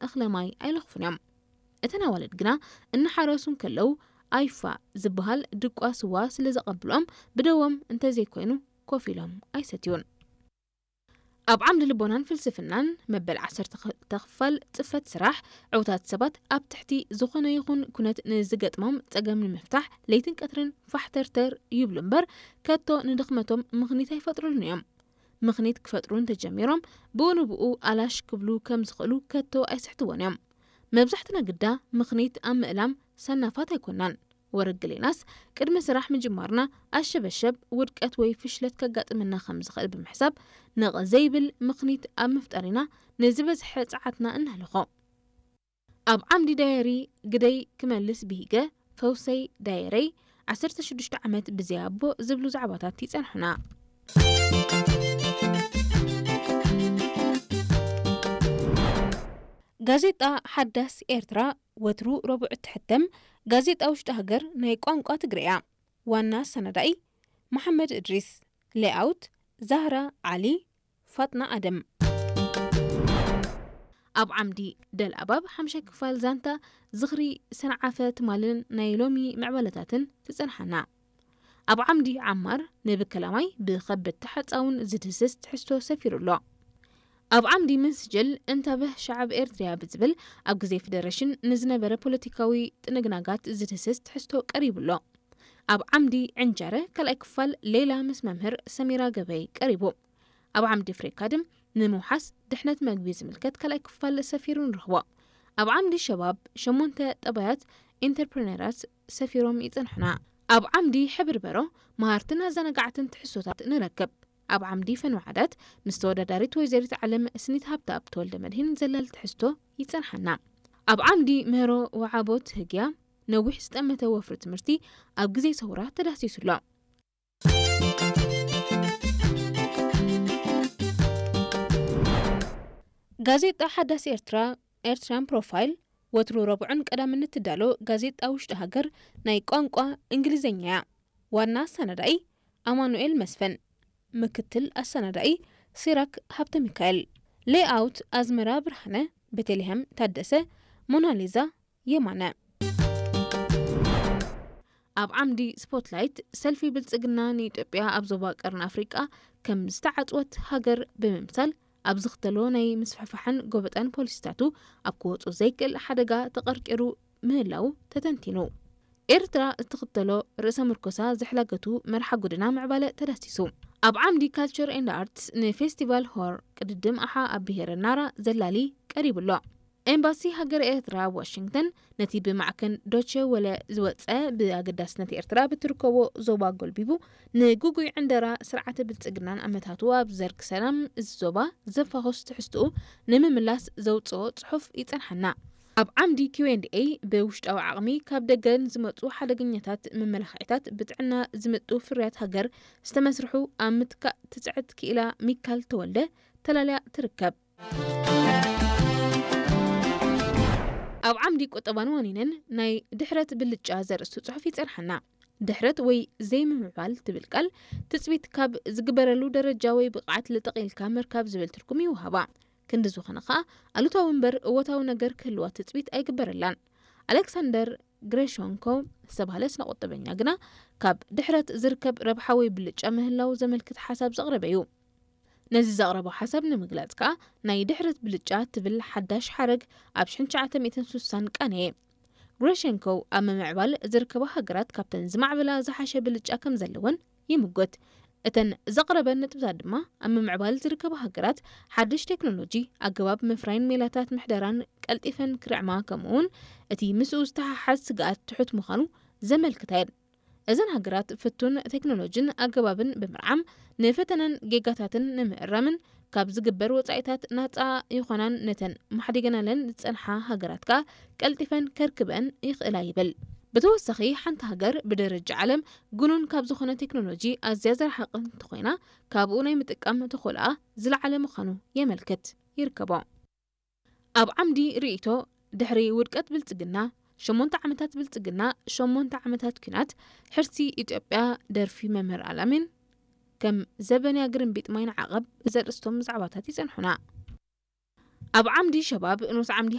እኽለ ማይ ኣይለኽፉን እዮም። እተን ኣዋልድ ግና እናሓረሱ እንከለዉ ኣይፋ ዝበሃል ድቋ ስዋ ስለ ዘቐብልኦም ብደዎም እንተዘይኮይኑ ኮፍ ኢሎም ኣይሰትዩን። ኣብ ዓምዲ ልቦናን ፍልስፍናን መበል ዓሰርተ ክፋል ጽፈት ስራሕ ዕውታት ሰባት ኣብ ትሕቲ ዝኾነ ይኹን ኩነት ንዝገጥሞም ጸገም ንምፍታሕ ለይትን ቀትርን ፋሕተርተር ይብሉ እምበር ከቶ ንድኽመቶም ምኽኒት ኣይፈጥሩሉን እዮም። ምኽኒት ክፈጥሩ እንተጀሚሮም ብኡ ንብኡ ኣላሽ ክብሉ ከም ዝኽእሉ ከቶ ኣይስሕትዎን እዮም። መብዛሕትና ግዳ ምኽኒት ኣብ ምእላም ሰናፋት ኣይኮናን። ወረግሌናስ ቅድሚ ስራሕ ምጅማርና ኣሸበሸብ ውድቀት ወይ ፍሽለት ከጋጥመና ከም ዝኽእል ብምሕሳብ ነቐ ዘይብል ምኽኒት ኣብ ምፍጣር ኢና ንዝበዝሐ ጸዓትና እነህልኾ። ኣብ ዓምዲ ዳየሪ ግደይ ክመልስ ብሂገ ፈውሰይ ዳየረይ ዓሰርተ ሽዱሽተ ዓመት ብዘይ ኣቦ ዝብሉ ዛዕባታት ይጸንሑና። ጋዜጣ ሓዳስ ኤርትራ ወትሩ ረቡዕ እትሕተም ጋዜጣ ውሽጢ ሃገር ናይ ቋንቋ ትግርያ። ዋና ኣሰናዳኢ መሓመድ እድሪስ። ሌኣውት ዛህራ ዓሊ፣ ፋጥና ኣደም። ኣብ ዓምዲ ደልኣባብ ሓምሻይ ክፋል ዛንታ ዝኽሪ ሰንዓፈ ትማልን ናይ ሎሚ ምዕባለታትን ትጸንሓና። ኣብ ዓምዲ ዓማር ንብከላማይ ብኸበድቲ ሓጻውን ዝድህስስ ትሕዝቶ ሰፊሩ ኣሎ። ኣብ ዓምዲ ምንስጅል እንታበህ ሸዓብ ኤርትርያ ብዝብል ኣብ ግዜ ፌደሬሽን ንዝነበረ ፖለቲካዊ ጥንግናጋት ዝድህስስ ትሕዝቶ ቀሪቡ ኣሎ። ኣብ ዓምዲ ዕንጀረ ካልኣይ ክፋል ሌላ ምስ መምህር ሰሚራ ገበይ ቀሪቡ። ኣብ ዓምዲ ፍሬካድም ንምውሓስ ድሕነት መግቢ ዝምልከት ካልኣይ ክፋል ሰፊሩ ንረኽቦ። ኣብ ዓምዲ ሸባብ ሸሞንተ ጠባያት ኢንተርፕረነራት ሰፊሮም ይጸንሑና። ኣብ ዓምዲ ሕብርበሮ መሃርትን ኣዘናጋዕትን ትሕዝቶታት ንረክብ። ኣብ ዓምዲ ፈንዋዓዳት ምስ ተወዳዳሪት ወይዘሪት ዓለም ስኒት ሃብተኣብ ተወልደ መድህን ዘላል ትሕዝቶ ይጸንሓና። ኣብ ዓምዲ ምህሮ ወዓቦት ህግያ ነዊሕ ዝጠመተ ወፍሪ ትምህርቲ ኣብ ግዜ ሰውራ ተዳህሲሱ ኣሎ። ጋዜጣ ሓዳስ ኤርትራ ኤርትራን ፕሮፋይል ወትሩ ረቡዕን ቀዳምን እትዳሎ ጋዜጣ ውሽጢ ሃገር ናይ ቋንቋ እንግሊዝኛ እያ። ዋና ኣሰናዳኢ ኣማኑኤል መስፍን፣ ምክትል ኣሰናዳኢ ሲራክ ሃብተ ሚካኤል፣ ሌኣውት ኣዝመራ ብርሃነ፣ ቤተልሔም ታደሰ፣ ሞናሊዛ የማነ። ኣብ ዓምዲ ስፖትላይት ሰልፊ ብልጽግና ንኢትዮጵያ ኣብ ዞባ ቀርኒ ኣፍሪቃ ከም ዝተዓጽወት ሃገር ብምምሳል ኣብ ዝኽተሎ ናይ ምስፍሕፋሕን ጎበጣን ፖሊሲታቱ ኣብ ክወጹ ዘይክእል ሓደጋ ተቐርቂሩ ምህላው ተተንቲኑ። ኤርትራ እትኽተሎ ርእሰ ምርኮሳ ዝሕላገቱ መርሓ ጎደና ምዕባለ ተዳሲሱ። ኣብ ዓምዲ ካልቸር ኤንድ ኣርትስ ንፌስቲቫል ሆር ቅድድም ኣሓ ኣብ ብሄረ ናራ ዘላሊ ቀሪቡ ኣሎ። ኤምባሲ ሃገር ኤርትራ ኣብ ዋሽንግተን ነቲ ብማዕከን ዶቸ ወለ ዝወጸ ብኣገዳስነት ኤርትራ ብትርከቦ ዞባ ጎልቢቡ ንግጉይ ዕንደራ ስርዓተ ብልጽግናን ኣመታቱ ኣብ ዘርግ ሰላም እዚ ዞባ ዘፋኹስ ትሕዝትኡ ንምምላስ ዘውጽኦ ጽሑፍ ይጸንሓና። ኣብ ዓምዲ ኪው ኤንድ ኤይ ብውሽጣዊ ዓቕሚ ካብ ደገ ንዝመጹ ሓደገኛታት መመላኽዒታት ብጥዕና ዝምጥኡ ፍርያት ሃገር ዝተመስርሑ ኣብ ምትካእ ትጽዕት ክኢላ ሚካል ተወልደ ተላልያ ትርከብ። ኣብ ዓምዲ ቁጠባን ዋኒንን ናይ ድሕረት ብልጫ ዘርእስቱ ጽሑፍ ይጸንሓና። ድሕረት ወይ ዘይምምዕባል ትብል ቃል ትጽቢት ካብ ዝግበረሉ ደረጃ ወይ ብቕዓት ልጥቕ ኢልካ ምርካብ ዝብል ትርጉም ይወሃባ። ክንዲ ዝኾነ ኸኣ ኣሉታዊ እምበር እወታዊ ነገር ክህልዋ ትጽቢት ኣይግበረላን። ኣሌክሳንደር ግሬሾንኮ ዝተባህለ ስነ ቁጠበኛ ግና ካብ ድሕረት ዝርከብ ረብሓ ወይ ብልጫ ምህላው ዘመልክት ሓሳብ ዘቕረበ እዩ። ነዚ ዘቕረቦ ሓሳብ ንምግላጽ ከኣ ናይ ድሕረት ብልጫ ትብል ሓዳሽ ሓረግ ኣብ ሽሕን ትሽዓተ ሚእትን ስሳን ቀነየ። ግሬሸንኮ ኣብ ምምዕባል ዝርከባ ሃገራት ካብተን ዝማዕበላ ዝሓሸ ብልጫ ከም ዘለወን ይምጎት። እተን ዘቕረበን ነጥብታት ድማ ኣብ ምምዕባል ዝርከባ ሃገራት ሓድሽ ቴክኖሎጂ፣ ኣገባብ ምፍራይን ሜላታት ምሕደራን ቀልጢፈን ክርዕማ ከምኡውን እቲ ምስኡ ዝተሓሓዝ ስግኣት ትሑት ምዃኑ ዘመልክታ እየን። እዘን ሃገራት ፍቱን ቴክኖሎጂን ኣገባብን ብምርዓም ንፈተናን ጌጋታትን ንምእራምን ካብ ዝግበር ወጻኢታት ናጻ ይኾናን ነተን ማሕዲገናለን ዝጸንሓ ሃገራት ከኣ ቀልጢፈን ከርክበን ይኽእላ ይብል። ብተወሳኺ ሓንቲ ሃገር ብደረጃ ዓለም ግኑን ካብ ዝኾነ ቴክኖሎጂ ኣዝያ ዝረሓቐት እንተኾይና ካብኡ ናይ ምጥቃም ተኽእሎኣ ዝለዓለ ምዃኑ የመልክት ይርከቦ። ኣብ ዓምዲ ርእይቶ ድሕሪ ውድቀት ብልጽግና ሸሞንተ ዓመታት ብልጽግና፣ ሸሞንተ ዓመታት ኲናት፣ ሕርሲ ኢትዮጵያ ደርፊ መምህር ኣልኣሚን፣ ከም ዘበንያ ግርምቢጥ ማይ ንዓቐብ ዘርእስቶም ዛዕባታት ይጸንሑና። ኣብ ዓምዲ ሸባብ ንኡስ ዓምዲ